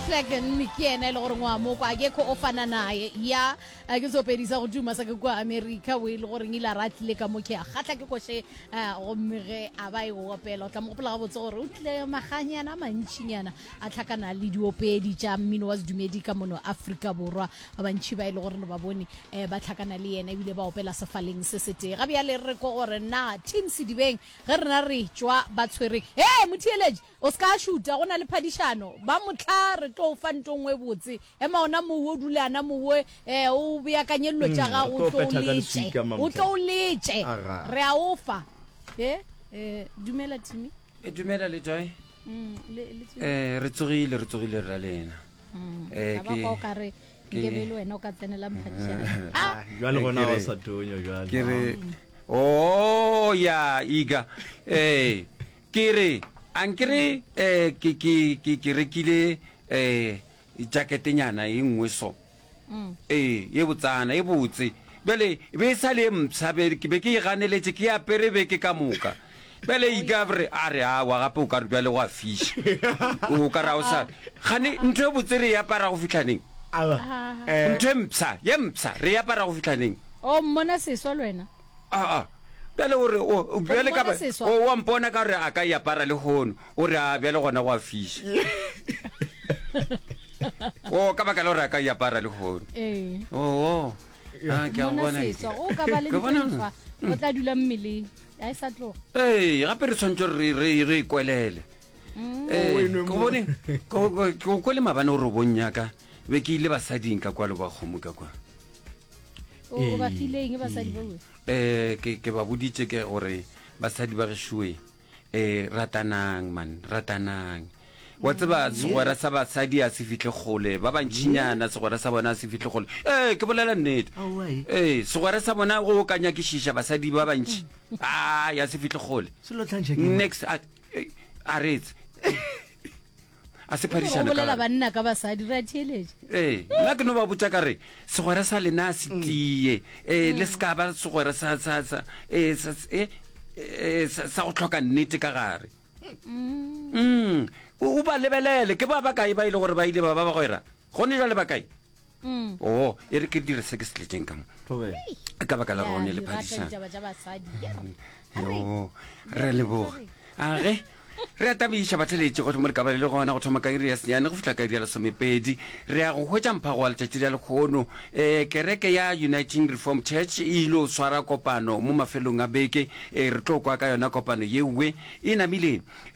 McLagan ke yena e le gore ngwa mo kwa ke ko o fana naye ya a ke seopedi sa go tuma sa ke kua America o e le goreng ile a ra tlile ka mo ke a kgatla ke koše eh, gomme ge a ba e opela o tla mo gopola gabotse gore o tlile maganyana a mantšinyana a tlhakana le diopedi tša mmino wa sedumedi ka mono Afrika Borwa ba bantši ba e le gore re ba bone eh, ba tlhakana le yena ebile ba opela sefaleng se setee ga bjale re ko gore na team Sedibeng ge rena re tšwa ba tshwere he motheeletši O se ka šuta, go na le phadišano. Ba mohla re tlo o fa nto nngwe botse. Ema ona moo, o dule ana moo, eh, o beakanye dilo tša gago, re o tlo tlo o phetha ka letše. leswika, O Mamtla. tlo o letše. Aga. Re a o fa. Eh, eh, dumela Timmy. E dumela le joy. Mm, le, le tsogile? Eh, re tsogile, re tsogile re ra lena. Eh, Ka ba ke- kwa o ka re ke- nke be le wena o ka tsenela mphadišano. Ah, Jwale gona Ke wa re- sa tonya jwale. Ke re, oh ya iga. Eh, Ke re, ankere eh, ke, ke, ke, ke rekile eh, jaketenyana e nngwe so. Ee, ye botsana, e botse. Bjale, e be e sa le e mpsha, be, ke be ke e ganeletše, ke e apere beke ka moka. Bjale e ka re, a re, aowa, gape o ka re bjale go a fiša. O ka re a o sa, gane ntho e botse re e apara go fihla neng? Aowa, eh, Ntho e mpsha, ye mpsha, re e apara go fihla neng? O mmona seswa le wena? Aa, bjale o re, o, bjale ka ba, seswa. o wa mpona ka gore a ka e apara lehono, o re, a bjale gona go a fiša. O, ka baka la gore a ka e apara lehono. Ee. Oo, a, ke a Mmona bona. seswa. Go ka ba le Ke bona. ntho e ntshwa, o tla dula mmeleng. A e sa tloga. Ee, gape re tshwanetse re, re, re e kwelele. Ee, O e nwe ke mo. bone, ke go- ke go kwele maabane o re bong yaka, be ke ile basading ka kwa le ba kgomo ka kwa. O o ba file eng basadi ba um ke ke ba boditše ke gore basadi ba gešoe um ratanang man ratanang wa tseba segwera sa basadi a se fihle kgole ba bantšinyana segwera sa bona a se fihle kgole ee ke bolela nnete Aowa, eh. ee segwera sa bona go ka nyakišiša basadi ba bantši a ya se fihle kgole Selo tlhantšha ke eng? next a eh, a retse a se Go phadišano ka bolela gare. banna ka basadi re a theeletša. Ee, nna ke no ba botša ka re segwera sa lena a se tie, ee, le se ka ba segwera sa sa sa ee, sa ee, ee, sa, sa go hloka nnete ka gare. Mm. O, o ba lebelele, ke ba bakae ba e le gore ba ile ba ba bagwera? Gone jwale ba kae? Mm. Oh, e re ke dire se ke se tletšeng ka mo. Thobela. Ka baka la Ya, rone le di rata phadišano. ditaba tša basadi. Yo, re a leboga. A ge re a tabiša batheletši gohle mo le ka ba le le gona go thoma ka iri ya senyane go fihla ka iri ya lesomepedi. Re ya go hwetša mphago wa letšatši la lekgono. Um kereke ya Uniting Reformed Church e ile swara kopano mo mafelong a beke. Um re tlo kwa ka yona kopano yewe e namile.